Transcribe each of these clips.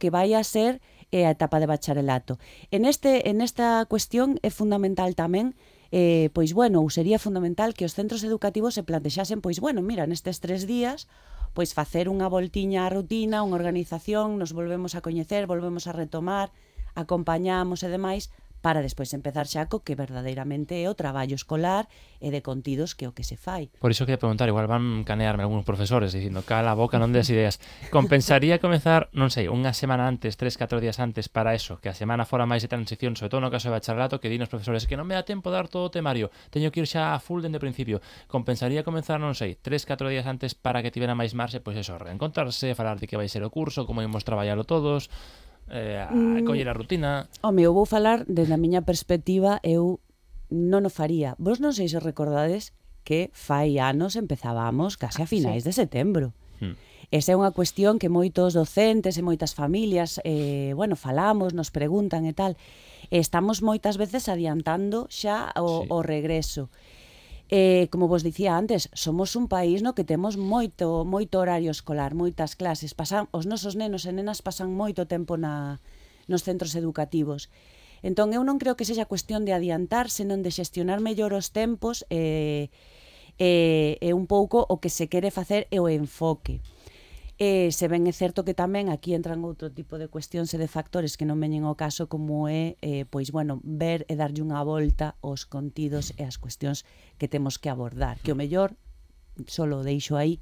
que vai a ser a etapa de bacharelato. Nesta cuestión é fundamental tamén pois bueno, ou sería fundamental que os centros educativos se plantexasen, pois bueno, mira, nestes 3 días pois facer unha voltiña á rutina, unha organización, nos volvemos a coñecer, volvemos a retomar, acompañamos e demais, para despois empezar xa co que verdadeiramente é o traballo escolar e de contidos que é o que se fai. Por iso quería preguntar, igual van canearme algúns profesores dicindo, cala a boca, non des ideas. Compensaría comezar, non sei, unha semana antes, 3-4 días antes para eso, que a semana fora máis de transición, sobre todo no caso de bacharelato, que din os profesores que non me dá tempo de dar todo o temario, teño que ir xa a full dende o principio. Compensaría comenzar, non sei, 3-4 días antes para que tivera máis marxe, pois eso, reencontrarse, falar de que vai ser o curso, como imos traballalo todos, coller a rutina. Home, eu vou falar desde a miña perspectiva, eu non o faría. Vos non sei se recordades que fai anos empezábamos case a finais de setembro. Esa é unha cuestión que moitos docentes e moitas familias bueno, falamos, nos preguntan e tal. Estamos moitas veces adiantando xa o regreso. Como vos dicía antes, somos un país no que temos moito horario escolar, moitas clases. Os nosos nenos e nenas pasan moito tempo nos centros educativos. Entón, eu non creo que sexa cuestión de adiantar, senón de xestionar mellor os tempos e un pouco o que se quere facer é o enfoque. Se ben é certo que tamén aquí entran outro tipo de cuestións e de factores que non veñen ao caso, como é, pois, bueno, ver e darlle unha volta aos contidos e as cuestións que temos que abordar, que o mellor, só lo deixo aí,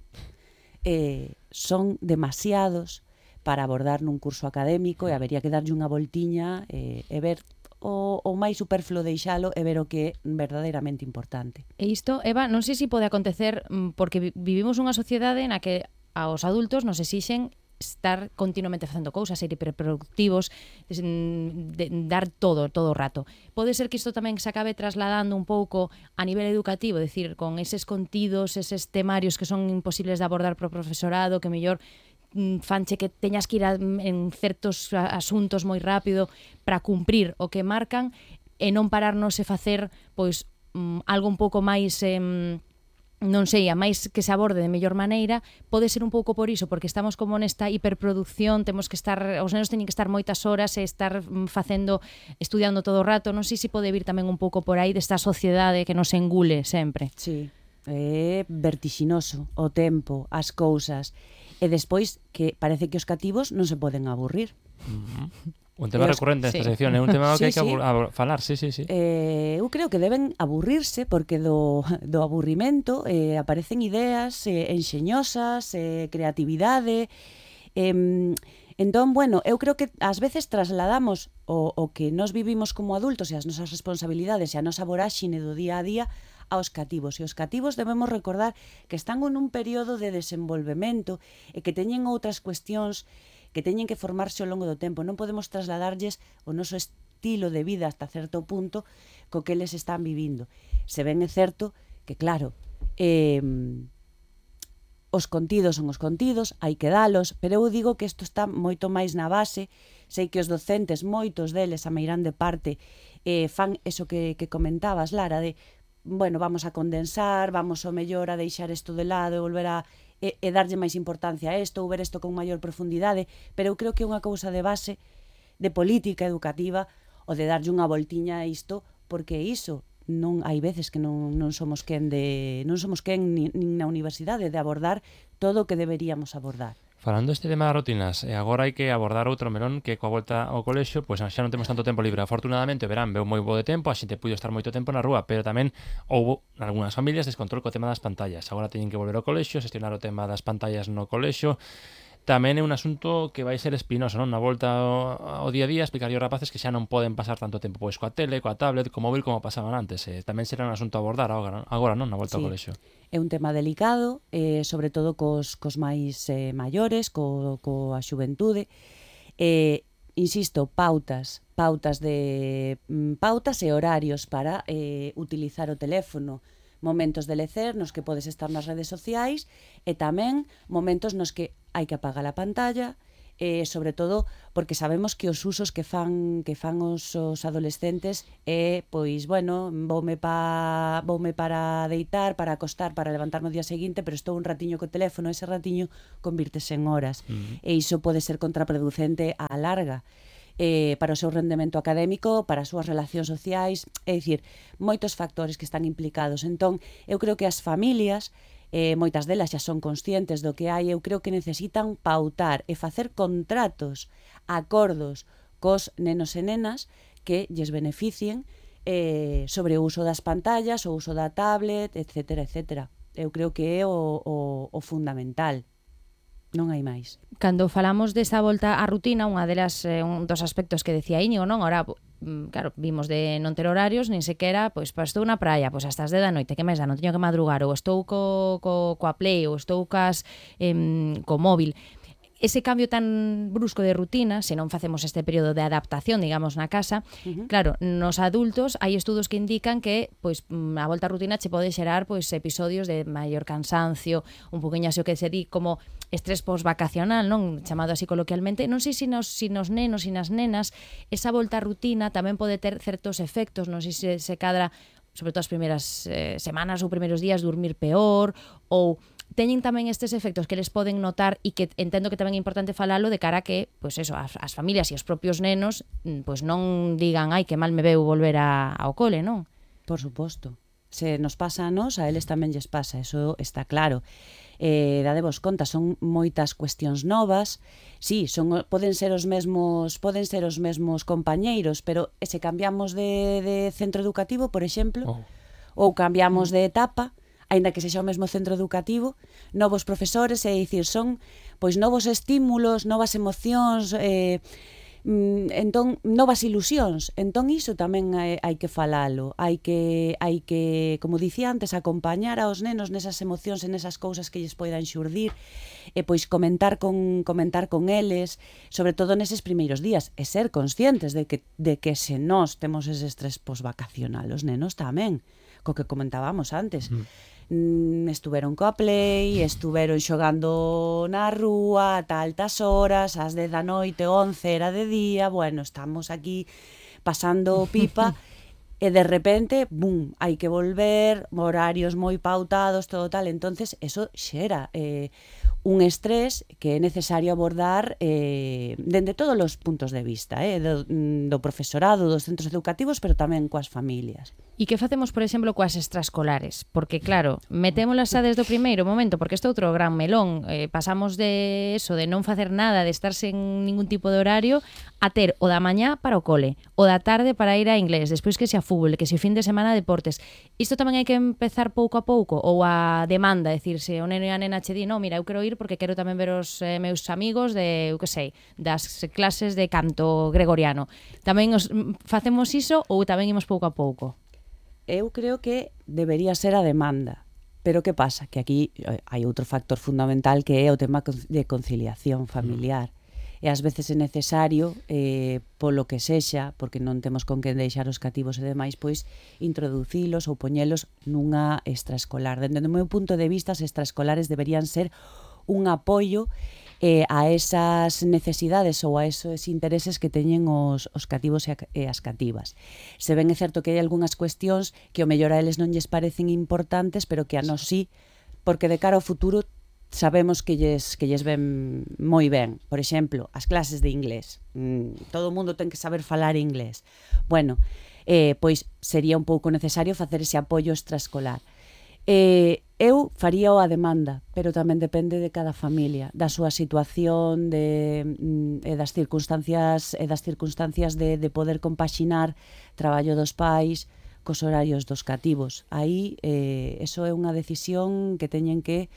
son demasiados para abordar nun curso académico e habería que darlle unha voltiña e ver o máis superfluo deixalo e ver o que é verdadeiramente importante. E isto, Eva, non sei se pode acontecer porque vivimos unha sociedade na que aos adultos nos exixen estar continuamente facendo cousas, ser hiperproductivos, dar todo o rato. Pode ser que isto tamén se acabe trasladando un pouco a nivel educativo, decir, con eses contidos, eses temarios que son imposibles de abordar pro profesorado, que mellor fanche que teñas que ir en certos asuntos moi rápido para cumprir o que marcan e non pararnos e facer pois algo un pouco máis non sei, a máis que se aborde de mellor maneira. Pode ser un pouco por iso, porque estamos como nesta hiperproducción, temos que estar, os nenos teñen que estar moitas horas e estar estudiando todo o rato. Non sei se pode vir tamén un pouco por aí desta sociedade que nos engule sempre. Sí, é vertixinoso o tempo, as cousas, e despois que parece que os cativos non se poden aburrir. Un tema recurrente nesta sección, é un tema que hai que falar, sí. Eu creo que deben aburrirse, porque do aburrimento aparecen ideas enxeñosas, creatividade. Entón, bueno, eu creo que ás veces trasladamos o que nós vivimos como adultos e as nosas responsabilidades e a nosa voráxine do día a día aos cativos. E os cativos debemos recordar que están en un período de desenvolvemento e que teñen outras cuestións que teñen que formarse ao longo do tempo. Non podemos trasladarlles o noso estilo de vida hasta certo punto co que eles están vivindo. Se ben é certo que, claro, os contidos son os contidos, hai que dalos, pero eu digo que isto está moito máis na base. Sei que os docentes, moitos deles, a meirande parte, fan eso que comentabas, Lara, de, bueno, vamos a condensar, vamos ao mellor a deixar isto de lado e volver a e darlle máis importancia a isto ou ver isto con maior profundidade, pero eu creo que é unha cousa de base de política educativa o de darlle unha voltiña a isto, porque iso non hai veces que non somos quen nin na universidade de abordar todo o que deberíamos abordar. Falando deste tema das rutinas, e agora hai que abordar outro melón que coa volta ao colexio, pois xa non temos tanto tempo libre. Afortunadamente o verán veu moi bo de tempo, a xente puido estar moito tempo na rúa, pero tamén houbo nalgúnas familias descontrol co tema das pantallas. Agora teñen que volver ao colexio, xestionar o tema das pantallas no colexio. Tamén é un asunto que vai ser espinoso, non? Na volta ao día a día, explicar aos rapaces que xa non poden pasar tanto tempo pois coa tele, coa tablet, co móvil como pasaban antes. Tamén será un asunto a abordar agora, non? Na volta ao colexio. É un tema delicado, sobre todo cos máis maiores, coa xuventude. Insisto, pautas e horarios para utilizar o teléfono, momentos de lecer nos que podes estar nas redes sociais e tamén momentos nos que hai que apagar a pantalla sobre todo porque sabemos que os usos que fan os adolescentes é, pois, bueno, voume para deitar, para acostar, para levantarme o día seguinte, pero estou un ratiño co teléfono, ese ratiño convírtese en horas, e iso pode ser contraproducente á larga. Para o seu rendemento académico, para as súas relacións sociais, é dicir, moitos factores que están implicados. Entón, eu creo que as familias, moitas delas xa son conscientes do que hai, eu creo que necesitan pautar e facer contratos, acordos cos nenos e nenas que lles beneficien sobre o uso das pantallas, o uso da tablet, etcétera, etcétera. Eu creo que é o fundamental. Non hai máis. Cando falamos desa volta á rutina, unha delas, un dos aspectos que decía Íñigo, non? Ahora, claro, vimos de non ter horarios, nin sequera, pois estou na praia, pois hasta as 10 da noite, que máis dá, non teño que madrugar, ou estou coa Play, ou estou co móvil. Ese cambio tan brusco de rutina, se non facemos este período de adaptación, digamos, na casa, claro, nos adultos hai estudos que indican que pois a volta á rutina che pode xerar pois episodios de maior cansancio, un poquinho así o que se di como estrés posvacacional, non, chamado así coloquialmente. Non sei se nos nenos e nas nenas esa volta á rutina tamén pode ter certos efectos, non sei se cadra, sobre todo as primeiras semanas ou primeiros días, dormir peor, ou teñen tamén estes efectos que les poden notar e que entendo que tamén é importante falalo de cara a que, pois eso, as familias e os propios nenos pois non digan, ai, que mal me veu volver ao cole, non? Por suposto. Se nos pasa a nós, a eles tamén lles pasa, eso está claro. Dadevos conta, son moitas cuestións novas, sí, poden ser os mesmos compañeiros, pero se cambiamos de centro educativo, por exemplo, ou cambiamos de etapa, aínda que sexa o mesmo centro educativo, novos profesores, é dicir, son pois novos estímulos, novas emocións, entón novas ilusións. Entón iso tamén hai que falalo, hai que, como dicía antes, acompañar aos nenos nesas emocións e nesas cousas que lles poidan xurdir, e pois comentar con eles, sobre todo neses primeiros días, e ser conscientes de que se nós temos ese estrés posvacacional, os nenos tamén, co que comentábamos antes. Estuveron coa Play, estuveron xogando na rúa ata altas horas, ás 10 da noite, 11 era de día, bueno, estamos aquí pasando pipa e de repente, bum, hai que volver, horarios moi pautados, todo tal, entonces eso xera un estrés que é necesario abordar dende todos os puntos de vista, do profesorado, dos centros educativos, pero tamén coas familias. E que facemos, por exemplo, coas extraescolares? Porque, claro, metémolas xa desde o primeiro momento, porque este é outro gran melón. Pasamos de eso, de non facer nada, de estar sen ningún tipo de horario, a ter o da mañá para o cole, o da tarde para ir a inglés, despois que se a fútbol, que se o fin de semana deportes. Isto tamén hai que empezar pouco a pouco, ou a demanda, decir, se o neno e a nena che di, no, mira, eu quero ir porque quero tamén ver os meus amigos de, eu que sei, das clases de canto gregoriano. Tamén facemos iso ou tamén imos pouco a pouco? Eu creo que debería ser a demanda. Pero que pasa? Que aquí hai outro factor fundamental que é o tema de conciliación familiar. E ás veces é necesario, polo que sexa, porque non temos con que deixar os cativos e demais, pois introducilos ou poñelos nunha extraescolar. Dende o meu punto de vista, as extraescolares deberían ser un apoio a esas necesidades ou a esos intereses que teñen os cativos e as cativas. Se ben é certo que hai algunhas cuestións que o mellor a eles non lles parecen importantes, pero que a nós sí, porque de cara ao futuro sabemos que lles ven moi ben. Por exemplo, as clases de inglés. Todo o mundo ten que saber falar inglés. Bueno, pois sería un pouco necesario facer ese apoio extraescolar. Eu faríao a demanda, pero tamén depende de cada familia, da súa situación, e das circunstancias de poder compaxinar traballo dos pais cos horarios dos cativos. Aí, eso é unha decisión que teñen que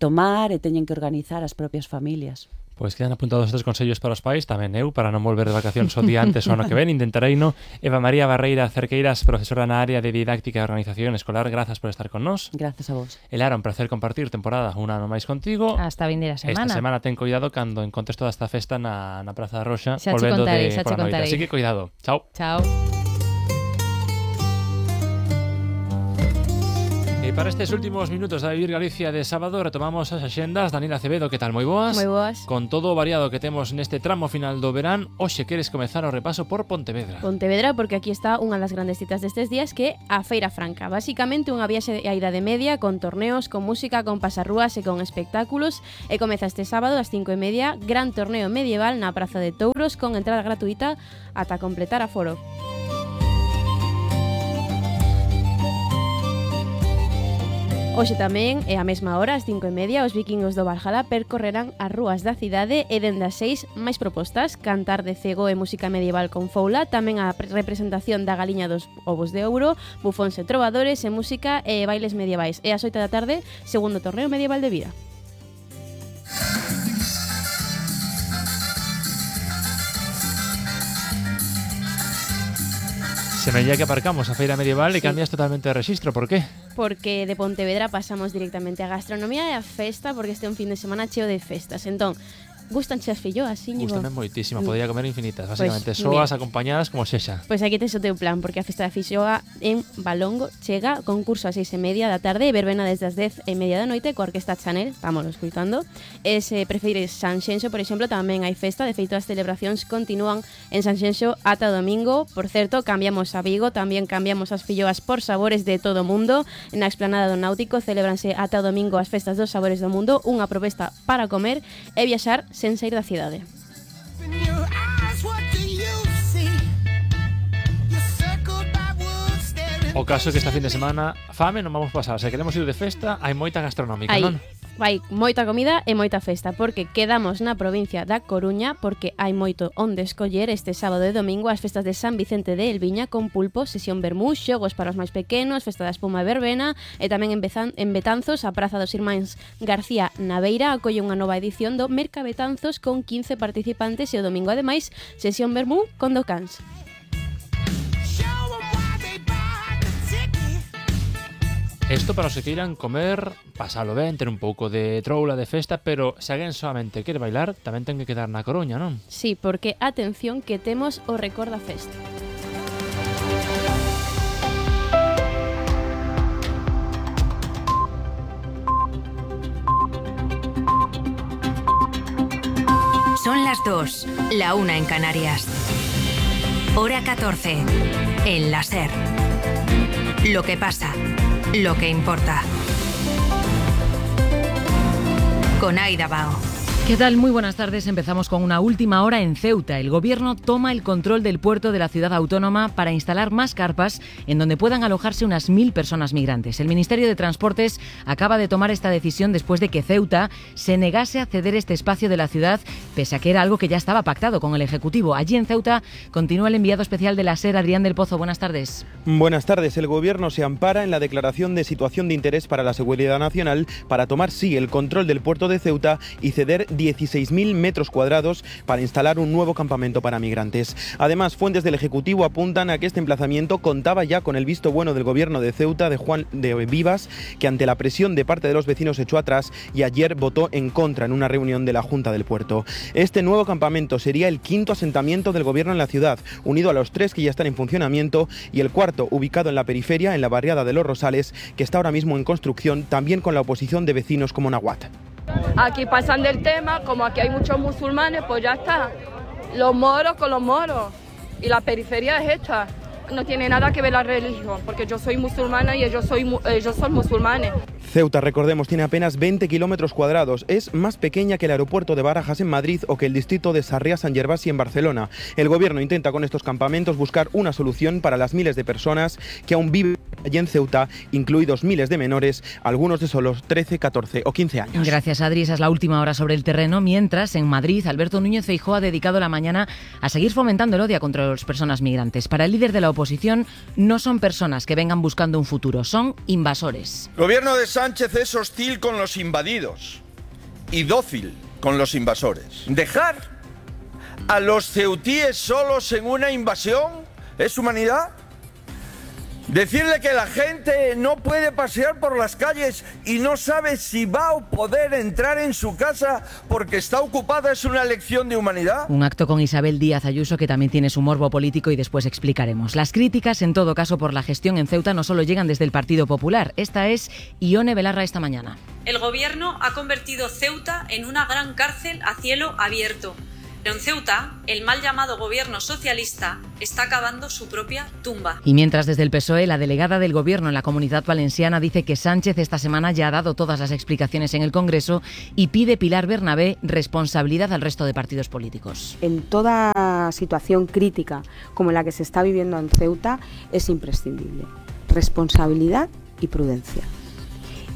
tomar e teñen que organizar as propias familias. Pois quedan apuntados estes consellos para os pais, tamén eu, para non volver de vacacións o día antes ou ano que ven, intentarei, no? Eva María Barreira Cerqueiras, profesora na área de didáctica e organización escolar, grazas por estar con nós. Grazas a vos. Era un placer compartir temporada un ano máis contigo. Hasta vindeira semana. Esta semana ten cuidado cando encontres toda esta festa na Praza da Roxa, xa volvendo de por a noite. Así que cuidado. Chao. Chao. E para estes últimos minutos da Vivir Galicia de sábado retomamos as axendas. Daniela Acevedo, que tal? Moi boas? Moi boas. Con todo o variado que temos neste tramo final do verán, hoxe queres comezar o repaso por Pontevedra. Pontevedra, porque aquí está unha das grandes citas destes días, que é a Feira Franca. Basicamente unha viaxe á Idade Media con torneos, con música, con pasarrúas e con espectáculos. E comeza este sábado ás 5:30, gran torneo medieval na Praza de Touros con entrada gratuita ata completar aforo. Hoxe tamén, e á mesma hora, ás 5:30, os vikingos do Valhalla percorrerán as rúas da cidade e dende as 6 máis propostas: cantar de cego e música medieval con foula, tamén a representación da galiña dos ovos de ouro, bufóns e trovadores e música e bailes medievais. E ás 8 da tarde, segundo torneo medieval de vida. Semella que aparcamos a feira medieval e cambias totalmente de rexistro, por qué? Porque de Pontevedra pasamos directamente a gastronomía e a festa, porque este é un fin de semana cheo de festas. Entón, gustan as filloas, Íñigo? Gústame moitísimo, podría comer infinitas, basicamente, Pues, soas acompañadas como sexa. Pois aquí tes o teu plan, porque a festa da filloa en Valongo chega, concurso ás 6:30 da tarde e verbena desde as 10:30 da noite coa Orquesta Chanel, estamos escoitando. E se prefires Sanxenxo, por exemplo, tamén hai festa, de feito as celebracións continúan en Sanxenxo ata o domingo. Por certo, cambiamos a Vigo, tamén cambiamos as filloas por sabores de todo o mundo. Na explanada do Náutico celebranse ata o domingo as festas dos sabores do mundo, unha proposta para comer e viaxar sen sair da cidade. O caso é que esta fin de semana fame non vamos pasar, se queremos ir de festa hai moita gastronómica, Hai, non? vai moita comida e moita festa, porque quedamos na provincia da Coruña, porque hai moito onde escoller este sábado e domingo as festas de San Vicente de Elviña con pulpo, sesión vermú, xogos para os máis pequenos, festa da espuma e verbena, e tamén en Betanzos, a Praza dos Irmáns García na Beira acolle unha nova edición do Merca Betanzos con 15 participantes e o domingo ademais sesión vermú con docáns. Isto para os que queiran comer, pasalo ben, ter un pouco de troula de festa, pero se alguén solamente quere bailar, tamén ten que quedar na Coruña, non? Sí, porque atención que temos o Recorda Fest. Son las 2, la 1 en Canarias. Hora 14, en la SER. Lo que pasa, lo que importa. Con Aida Bao. ¿Qué tal? Muy buenas tardes. Empezamos con una última hora en Ceuta. El gobierno toma el control del puerto de la ciudad autónoma para instalar más carpas en donde puedan alojarse unas 1.000 personas migrantes. El Ministerio de Transportes acaba de tomar esta decisión después de que Ceuta se negase a ceder este espacio de la ciudad, pese a que era algo que ya estaba pactado con el Ejecutivo. Allí en Ceuta continúa el enviado especial de la SER, Adrián del Pozo. Buenas tardes. Buenas tardes. El gobierno se ampara en la declaración de situación de interés para la seguridad nacional para tomar, sí, el control del puerto de Ceuta y ceder 16.000 metros cuadrados para instalar un nuevo campamento para migrantes. Además, fuentes del Ejecutivo apuntan a que este emplazamiento contaba ya con el visto bueno del gobierno de Ceuta, de Juan de Vivas, que ante la presión de parte de los vecinos echó atrás y ayer votó en contra en una reunión de la Junta del Puerto. Este nuevo campamento sería el quinto asentamiento del gobierno en la ciudad, unido a los 3 que ya están en funcionamiento, y el cuarto ubicado en la periferia, en la barriada de Los Rosales, que está ahora mismo en construcción, también con la oposición de vecinos como Nahuat. Aquí pasan del tema, como aquí hay muchos musulmanes, pues ya está. Los moros con los moros. Y la periferia es esta. No tiene nada que ver la religión, porque yo soy musulmana y ellos son musulmanes. Ceuta, recordemos, tiene apenas 20 kilómetros cuadrados. Es más pequeña que el aeropuerto de Barajas en Madrid o que el distrito de Sarriá-Sant Gervasi en Barcelona. El gobierno intenta con estos campamentos buscar una solución para las miles de personas que aún viven allí en Ceuta, incluidos miles de menores, algunos de solo 13, 14 o 15 años. Gracias, Adri. Esa es la última hora sobre el terreno. Mientras, en Madrid, Alberto Núñez Feijóo ha dedicado la mañana a seguir fomentando el odio contra las personas migrantes. Para el líder de la oposición, no son personas que vengan buscando un futuro, son invasores. El gobierno de Sánchez es hostil con los invadidos y dócil con los invasores. ¿Dejar a los ceutíes solos en una invasión es humanidad? Decirle que la gente no puede pasear por las calles y no sabe si va a poder entrar en su casa porque está ocupada es una lección de humanidad. Un acto con Isabel Díaz Ayuso que también tiene su morbo político y después explicaremos. Las críticas, en todo caso, por la gestión en Ceuta no solo llegan desde el Partido Popular. Esta es Ione Belarra esta mañana. El gobierno ha convertido Ceuta en una gran cárcel a cielo abierto. Pero en Ceuta, el mal llamado gobierno socialista está cavando su propia tumba. Y mientras desde el PSOE, la delegada del gobierno en la Comunidad Valenciana dice que Sánchez esta semana ya ha dado todas las explicaciones en el Congreso y pide Pilar Bernabé responsabilidad al resto de partidos políticos. En toda situación crítica como la que se está viviendo en Ceuta es imprescindible responsabilidad y prudencia.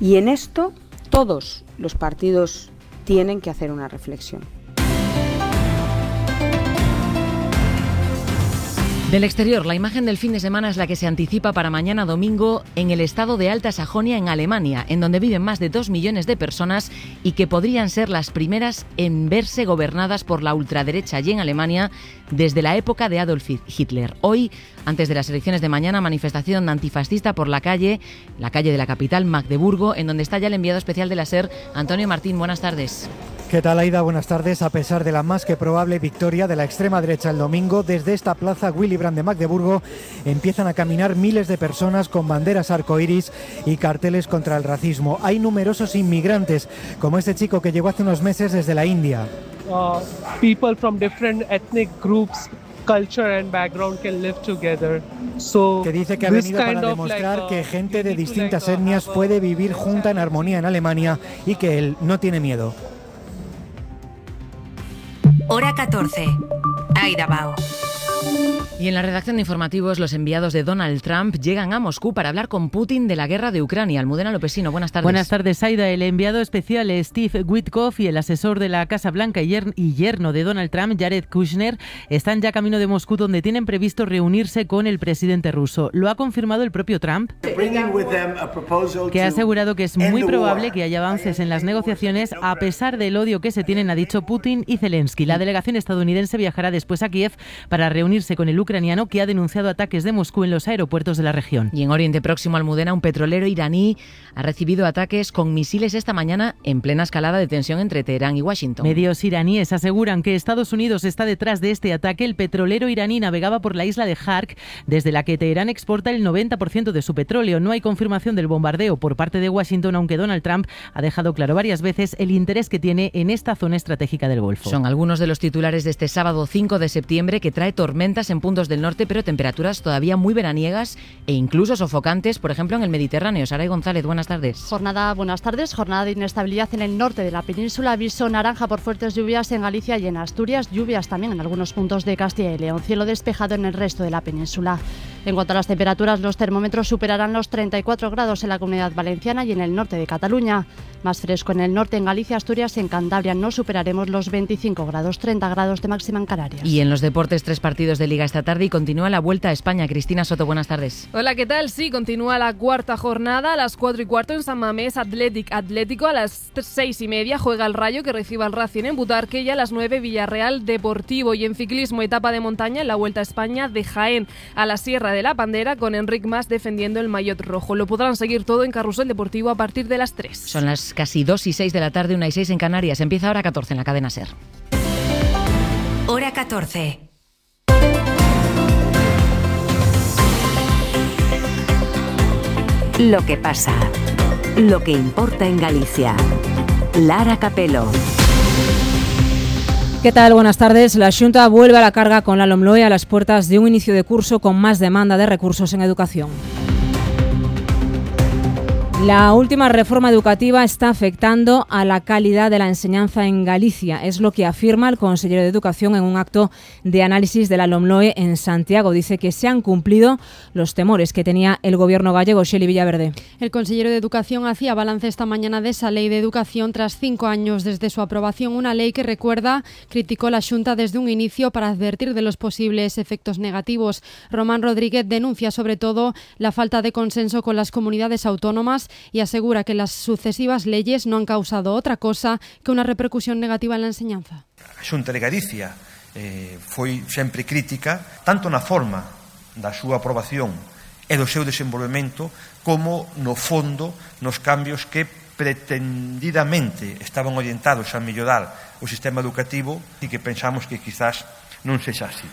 Y en esto todos los partidos tienen que hacer una reflexión. Del exterior, la imagen del fin de semana es la que se anticipa para mañana domingo en el estado de Alta Sajonia, en Alemania, en donde viven más de 2 millones de personas y que podrían ser las primeras en verse gobernadas por la ultraderecha allí en Alemania desde la época de Adolf Hitler. Hoy, antes de las elecciones de mañana, manifestación antifascista por la calle de la capital, Magdeburgo, en donde está ya el enviado especial de la SER, Antonio Martín. Buenas tardes. ¿Qué tal, Aida? Buenas tardes. A pesar de la más que probable victoria de la extrema derecha el domingo, desde esta plaza Willy Brandt de Magdeburgo empiezan a caminar miles de personas con banderas arcoíris y carteles contra el racismo. Hay numerosos inmigrantes, como este chico que llegó hace unos meses desde la India. People from different ethnic groups, culture and background can live together. So, que dice que ha venido para demostrar que gente de distintas etnias puede vivir junta en armonía en Alemania y que él no tiene miedo. Hora 14. Aida Bao. Y en la redacción de informativos, los enviados de Donald Trump llegan a Moscú para hablar con Putin de la guerra de Ucrania. Almudena Lopesino, buenas tardes. Buenas tardes, Aida. El enviado especial Steve Witkoff y el asesor de la Casa Blanca y yerno de Donald Trump, Jared Kushner, están ya camino de Moscú, donde tienen previsto reunirse con el presidente ruso. Lo ha confirmado el propio Trump, que ha asegurado que es muy probable que haya avances en las negociaciones a pesar del odio que se tienen, ha dicho Putin y Zelensky. La delegación estadounidense viajará después a Kiev para reunirse con el ucraniano, que ha denunciado ataques de Moscú en los aeropuertos de la región. Y en Oriente Próximo, Almudena, un petrolero iraní ha recibido ataques con misiles esta mañana en plena escalada de tensión entre Teherán y Washington. Medios iraníes aseguran que Estados Unidos está detrás de este ataque. El petrolero iraní navegaba por la isla de Hark, desde la que Teherán exporta el 90% de su petróleo. No hay confirmación del bombardeo por parte de Washington, aunque Donald Trump ha dejado claro varias veces el interés que tiene en esta zona estratégica del Golfo. Son algunos de los titulares de este sábado 5 de septiembre, que trae tormentas en puntos del norte, pero temperaturas todavía muy veraniegas e incluso sofocantes, por ejemplo en el Mediterráneo. Saray González, buenas tardes. Buenas tardes. Jornada de inestabilidad en el norte de la península, aviso naranja por fuertes lluvias en Galicia y en Asturias, lluvias también en algunos puntos de Castilla y León, cielo despejado en el resto de la península. En cuanto a las temperaturas, los termómetros superarán los 34 grados en la Comunidad Valenciana y en el norte de Cataluña. Más fresco en el norte, en Galicia, Asturias y en Cantabria no superaremos los 25 grados, 30 grados de máxima en Canarias. Y en los deportes, 3 partidos de Liga esta tarde y continúa la Vuelta a España. Cristina Soto, buenas tardes. Hola, ¿qué tal? Sí, continúa la cuarta jornada a las 4:15 en San Mamés, Atlético. A las 6:30 juega el Rayo, que recibe al Racing en Butarque, y a las 9 Villarreal Deportivo. Y en ciclismo, etapa de montaña en la Vuelta a España de Jaén a la Sierra de la Pandera, con Enric Mas defendiendo el maillot rojo. Lo podrán seguir todo en Carrusel Deportivo a partir de las 3. Son las casi 2:06 de la tarde, 1:06 en Canarias. Empieza Hora 14 en la cadena SER. Hora 14. Lo que pasa. Lo que importa en Galicia. Lara Capelo. ¿Qué tal? Buenas tardes. La Xunta vuelve a la carga con la LOMLOE a las puertas de un inicio de curso con más demanda de recursos en educación. La última reforma educativa está afectando a la calidad de la enseñanza en Galicia. Es lo que afirma el consejero de Educación en un acto de análisis de la LOMLOE en Santiago. Dice que se han cumplido los temores que tenía el gobierno gallego. Xeli Villaverde. El consejero de Educación hacía balance esta mañana de esa ley de educación tras 5 años desde su aprobación. Una ley que, recuerda, criticó la Xunta desde un inicio para advertir de los posibles efectos negativos. Román Rodríguez denuncia sobre todo la falta de consenso con las comunidades autónomas y asegura que las sucesivas leyes no han causado otra cosa que una repercusión negativa en la enseñanza. A Xunta de Galicia foi sempre crítica, tanto na forma da súa aprobación e do seu desenvolvemento, como no fondo nos cambios que pretendidamente estaban orientados a mellorar o sistema educativo e que pensamos que quizás non sexa así.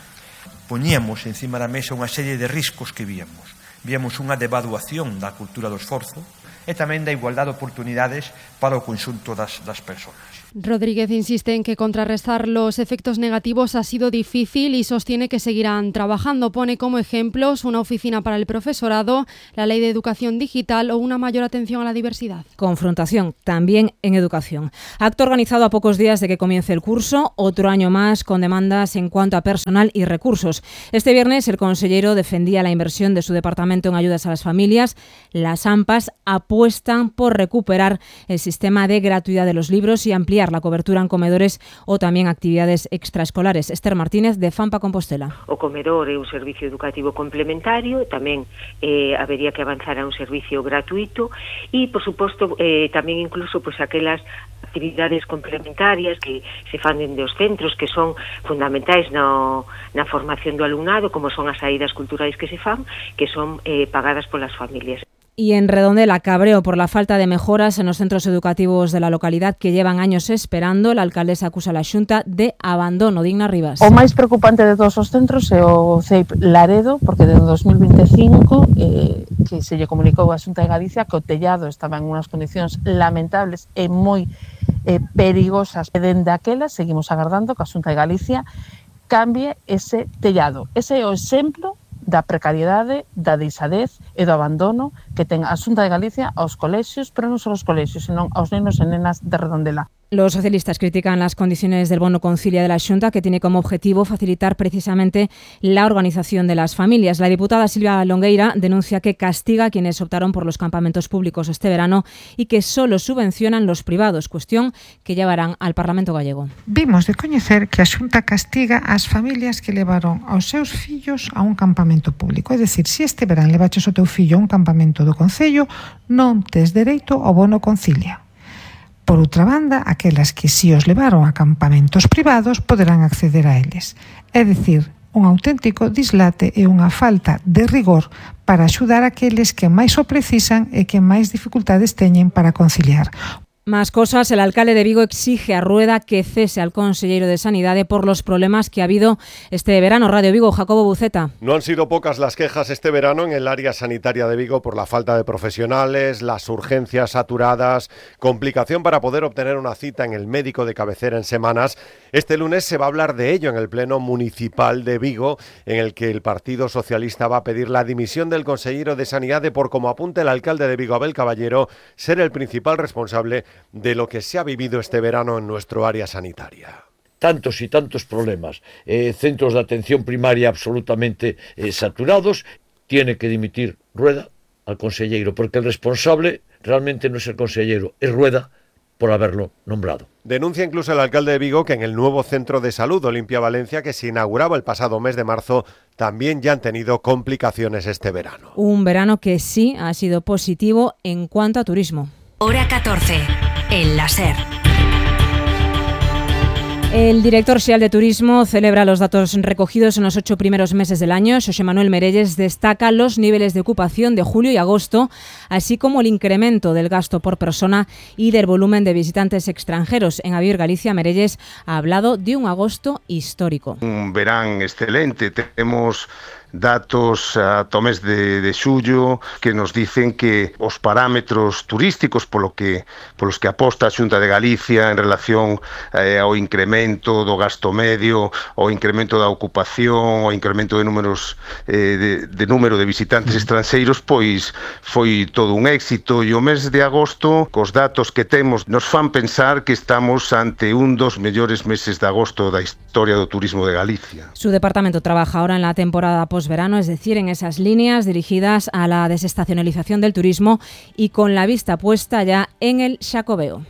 Poñíamos encima da mesa unha serie de riscos que víamos. Víamos unha devaluación da cultura do esforzo e tamén da igualdade de oportunidades para o conxunto das persoas. Rodríguez insiste en que contrarrestar los efectos negativos ha sido difícil y sostiene que seguirán trabajando. Pone como ejemplos una oficina para el profesorado, la ley de educación digital o una mayor atención a la diversidad. Confrontación, también en educación. Acto organizado a pocos días de que comience el curso, otro año más con demandas en cuanto a personal y recursos. Este viernes el consellero defendía la inversión de su departamento en ayudas a las familias. Las AMPAs apuestan por recuperar el sistema de gratuidad de los libros y ampliar la cobertura en comedores o tamén actividades extraescolares. Esther Martínez, de Fampa Compostela. O comedor é un servicio educativo complementario, tamén habería que avanzar a un servicio gratuito e, por suposto, tamén incluso pues, aquelas actividades complementarias que se fan dende os centros que son fundamentais na formación do alumnado, como son as saídas culturais que se fan, que son pagadas polas familias. Y en Redondela, cabreo por la falta de mejoras en los centros educativos de la localidad que llevan años esperando. La alcaldesa acusa a la Xunta de abandono. Digna Rivas. O máis preocupante de todos os centros é o CEIP Laredo, porque desde 2025 que se lle comunicou a Xunta de Galicia que o tellado estaba en unhas condicións lamentables e moi perigosas. E dende aquela seguimos agardando que a Xunta de Galicia cambie ese tellado. Ese é o exemplo da precariedade, da deixadez e do abandono que ten a Xunta de Galicia aos colexios, pero non só aos colexios, senón aos nenos e nenas de Redondela. Los socialistas critican las condiciones del bono concilia de la Xunta, que tiene como objetivo facilitar precisamente la organización de las familias. La diputada Silvia Longueira denuncia que castiga a quienes optaron por los campamentos públicos este verano y que solo subvencionan los privados, cuestión que llevarán al Parlamento gallego. Vimos de coñecer que a Xunta castiga ás familias que levaron aos seus fillos a un campamento público. É dicir, se este verán levaches o teu fillo a un campamento do Concello, non tes dereito ao bono concilia. Por outra banda, aquelas que si os levaron a campamentos privados poderán acceder a eles. É dicir, un auténtico dislate e unha falta de rigor para axudar aqueles que máis o precisan e que máis dificultades teñen para conciliar. Más cosas, el alcalde de Vigo exige a Rueda que cese al consellero de Sanidade por los problemas que ha habido este verano. Radio Vigo, Jacobo Buceta. No han sido pocas las quejas este verano en el área sanitaria de Vigo por la falta de profesionales, las urgencias saturadas, complicación para poder obtener una cita en el médico de cabecera en semanas. Este lunes se va a hablar de ello en el Pleno Municipal de Vigo, en el que el Partido Socialista va a pedir la dimisión del consellero de Sanidade por, como apunta el alcalde de Vigo, Abel Caballero, ser el principal responsable de lo que se ha vivido este verano en nuestro área sanitaria. Tantos y tantos problemas, centros de atención primaria absolutamente saturados, tiene que dimitir Rueda al consellero, porque el responsable realmente no es el consellero, es Rueda por haberlo nombrado. Denuncia incluso el alcalde de Vigo que en el nuevo centro de salud Olimpia Valencia, que se inauguraba el pasado mes de marzo, también ya han tenido complicaciones este verano. Un verano que sí ha sido positivo en cuanto a turismo. Hora 14, en la SER. El director xeral de Turismo celebra los datos recogidos en los 8 primeros meses del año. Xosé Manuel Merelles destaca los niveles de ocupación de julio y agosto, así como el incremento del gasto por persona y del volumen de visitantes extranjeros. En Avior Galicia, Merelles ha hablado de un agosto histórico. Un verán excelente. Tenemos datos ata o mes de xullo que nos dicen que os parámetros turísticos polos que aposta a Xunta de Galicia en relación ao incremento do gasto medio, ao incremento da ocupación, ao incremento de números de número de visitantes estranxeiros, pois foi todo un éxito, e o mes de agosto, cos datos que temos, nos fan pensar que estamos ante un dos mellores meses de agosto da historia do turismo de Galicia. Su departamento trabaja ahora en la temporada posverano, es decir, en esas líneas dirigidas a la desestacionalización del turismo y con la vista puesta ya en el Xacobeo.